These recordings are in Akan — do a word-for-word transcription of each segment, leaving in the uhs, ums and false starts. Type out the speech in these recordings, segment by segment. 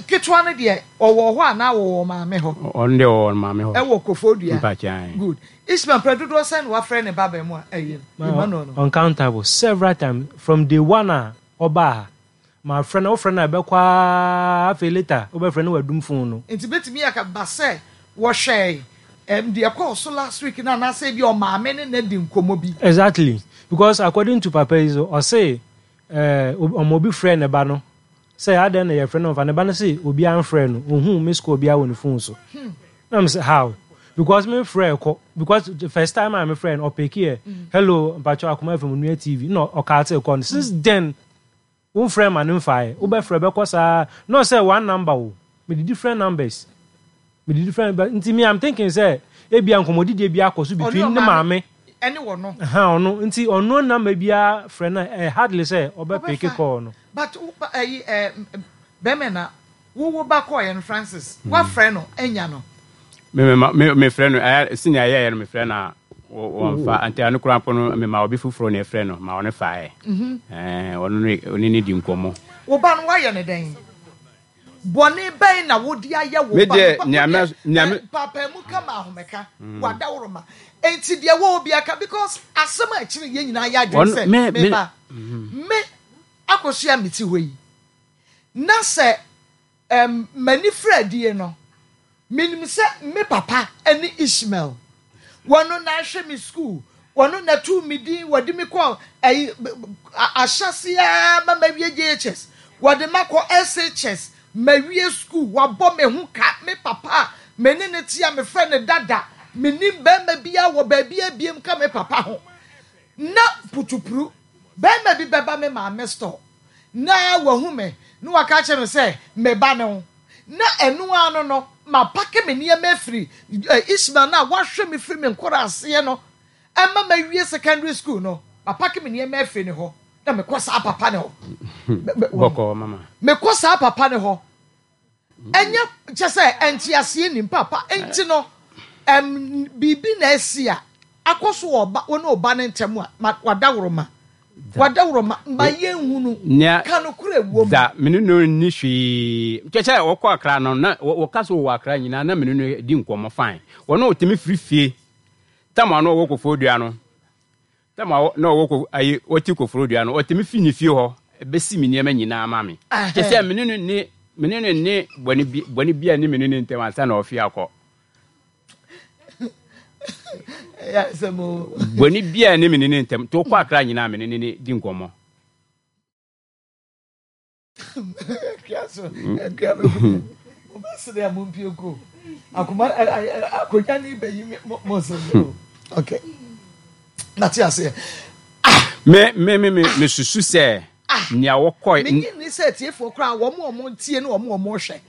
Ketewa no deɛ, ɔwɔ hɔ anaa wɔwɔ maame hɔ? Ɔno deɛ, ɔwɔ maame hɔ. Ɛwɔ Koforidua. Mpakyɛn. Good. Ismail, mpɛ dodoɔ sɛn na wafrɛ ne ba bɛn mu a ɛyɛ Emmanuel no? Uncountable, several times from day one a ɔbaa ha. Ma frɛ no, wofrɛ no a, ɛbɛkɔ aa, afei later wobɛfrɛ no, wadum phone no. Nti bɛtumi aka ba sɛ wɔhwɛ ɛm deɛ kɔɔ so last week na anaasɛ bi ɔmaame ne na di nkɔmmɔ bi? Exactly, because according to papa yi so, ɔse ɛɛ ɔmo obi frɛ ne ba no sɛ adɛn na yɛfrɛ no, ɔmfa ne ba no sɛ obi amfrɛ no, ohun miss call biara wɔ ne phone so. Na m sɛ how? Because me frɛ kɔ, because the first time a me frɛ no, ɔpick yɛ, "Hello, mpatwɛ, Akoma F M Nua T V," na ɔkaate kɔ no. Since then womfrɛ ma no mfaeɛ, wobɛfrɛ bɛkɔ saa na ɔsɛ one number o, mede different numbers, mede different, but nti me, I'm thinking sɛ ebia nkɔmmɔdidie bi akɔ so between ne maame ɛne wɔ no. Ɛha ɔno nti ɔno number biara frɛ no, ɛ hardly sɛ ɔbɛpick Ɔbɛfa. call no. But wo ba ɛyi ɛ bɛrima na wowo ba kɔɔ yɛ no, Francis, wafrɛ no ɛnya no? Me me ma- me mefrɛ no, ɛyɛ senior yɛyɛ no, mefrɛ no a wɔ- wɔmfa. Nti ano koraa mpo no, mema obi foforɔ na ɛfrɛ no ma ɔno faeɛ. Ɛɛ, ɔno ne ɔne ne di nkɔmmɔ. Wo ba no, wayɛ ne dɛn? Bɔne bɛn na wode ayɛ wo Me ba deɛ, no? nea me- Wodeɛ, nea me- ɛ, paapaemu kama ahomeka wadaworoma enti deɛ wɔ obi aka, because asɛm a ɛkyerɛ yɛn nyinaa yɛ adwene Ɔno- sɛ me- me- me ba me akɔsua me ti hɔ yi na sɛ ɛm m'ani fira adie no, menim sɛ me papa ne Ishmael, wɔno na ahwɛ me school, wɔno na tu me din, wɔde me kɔ ɛyi ahyɛseɛ ma mawie J H S, wɔde ma kɔ S H S, mawie school, wabɔ me ho ka. Me papa a me ne ne te a mefrɛ ne dada, menim bɛrima biara wɔ baabi abiem ka me papa ho na putupuru bɛrima bi bɛba me maame store na wahu me na waka kyerɛ me sɛ me ba ne ho, na ɛno ano no mapack me nneɛma afiri eh, Ishmael na wahwɛ me firi me nkɔrɔ aseɛ no ɛma mawie secondary school no, mapack me nneɛma afiri ne hɔ na mekɔ saa papa ne hɔ. Me- me- Bɔkɔɔ, mama. Mekɔ saa papa ne hɔ, ɛnyɛ kyɛ sɛ ɛnte nim papa nti no, ɛm biribi na asi a akɔ so wɔ ɔba wɔne ɔba ne ntɛm a ma wadaworoma wadaworoma ma yɛnhu no. Nea ka no kora ɛwɔ mu. Da mene no nni hwee kyɛ sɛ wɔkɔ Akra no na wɔ- wɔka so wɔ Akra nyinaa na mene no di nkɔmmɔ fine. Wɔne ɔtumi firi fie tam a na ɔwɔ Koforidua no, tam a wɔ- na ɔwɔ Ko- ayi wɔte Koforidua no, ɔtumi fi ne fie hɔ bɛsi me nneɛma nyinaa ma me kyɛ sɛ mene no ne mene no ne bɔne bi bɔne bi a ne mene ne ntɛm ansa na ɔfi akɔ. Ɛyɛ asɛm o. Bɔne bi a ne mene ne ntɛm nti wokɔ Akra nyinaa, mene ne ne di nkɔmmɔ. Akua so akua bɛ mo bɛ sere a mo mpie ko akoma ɛ- ɛ- ɛ- akonnwa ne bɛyi mi mo mo sere o. Okay, nate aseɛ. me me me me mesusu sɛ nea wɔkɔ Menyi ni sɛ tiefoɔ koraa, wɔn a wɔn tie ne wɔn a wɔn hwɛ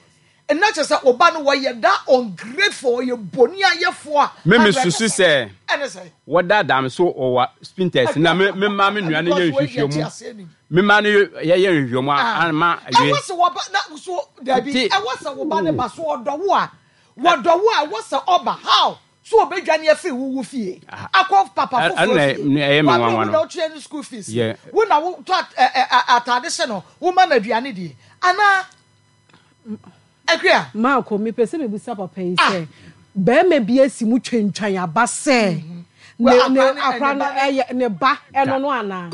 ɛnna kyerɛ sɛ ɔba no wɔyɛ da ungrateful, ɔyɛ boni ayɛfoɔ a. Me mesusu sɛ ɛne sɛ wɔdaadaa me so ɔwɔ Spintex na me me ma me nua no yɛ nhwehwɛmu, me ma no yɛyɛ nhwehwɛmu Ah. ama Ɛwɔ awie. sɛ wɔba na so dabi. Nti- Ɛwɔ sɛ wɔba ne ba so ɔdɔ wo a, wɔdɔ wo a, ɛwɔ sɛ ɔba how so ɔbɛdwane afiri wo wo fie akɔ papa Ɛ- foforɔ ɛno na fie. ɛ- ɛyɛ me Wabere nwanwa wo no. na wotua ne school fees, Yeah. wo na wotɔ at- ɛ- ɛ- ɛ- atade hyɛ no, woma no aduane die anaa akua? Maako, mepɛ sɛ mebusa papa yi Ah. sɛ bɛrima bi asi mu twentwan aba sɛ ne Well, ne akora ne- akora ne no ba ne- ɛyɛ ne ba ɛno no anaa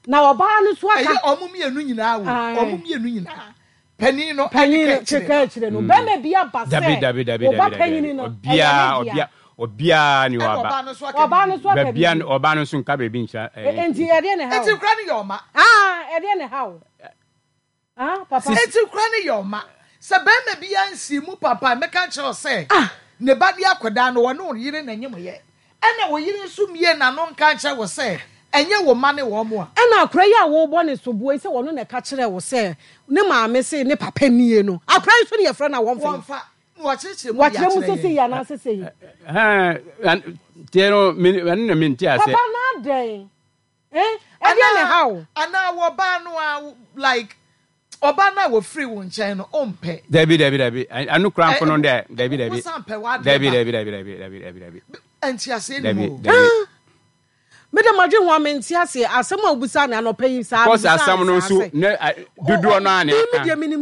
na ɔbaa no so aka? Ɛyɛ ɔmo mmienu nyinaa wo Aye. ɔmo mmienu nyinaa, panin no panyin no ɛne ka akyire. keka akyire no, bɛrima bi aba Dabi sɛ dabi dabi ɔba dabi panyin dabi no obiaa ɛyɛ ne dea. obia obiaa ni Ɛna ɔba ɔbaa no so aka Ɔbaa no biribi. so aka baabia biribi. Ɔbaa no nso nka baabi nkyerɛ. E- nti ɛdeɛ ne ha Eti o kura no yɛ ɔma. Ah, ɛdeɛ ne ha o, ah, papa. Eti kura no yɛ ɔma sɛ bɛrima bi ansi mu papa mɛka kyerɛ wo sɛ ne ba de akɔdaa no, wɔne wo yere na nyim yɛ, ɛna wo yere nso mie n'ano nka nkyerɛ wo sɛ ɛnyɛ wo ma ne wɔn mo a. Ɛna akora yi a wɔrebɔ ne soboɔ yi sɛ wɔno na ɛka kyerɛ wo sɛ ne maame se ne papa nie no, akora yi so ne yɛfrɛ no a wɔmfa yi. Wɔmfa na wɔkyerɛkyerɛ mu de Wakyerɛ mu akyerɛ sese yɛn. yi anaa sese yi? Tiɛ no, ɛno na mente ase. Papa na adɛn, eh, ɛdeɛ ne ha o? Anaa wɔbaa no a, like ɔbaa no a wɔfiri wo nkyɛn no, ɔmpɛ? Dabi dabi dabi, ɛno kora mpo no dɛ, dabi dabi. Wosan pɛ w'adeɛ Dabi. ba. Dabi dabi dabi dabi dabi dabi. Ɛnti aseɛ ni Dabi. mu o. Dabi. Mede madwe ho a mente aseɛ, asɛm a wobisa ne anɔpa yi saa kɔs mebisa asɛm no ne saa nso sɛ, ne a- dodoɔ no a ne Me aka deɛ menim.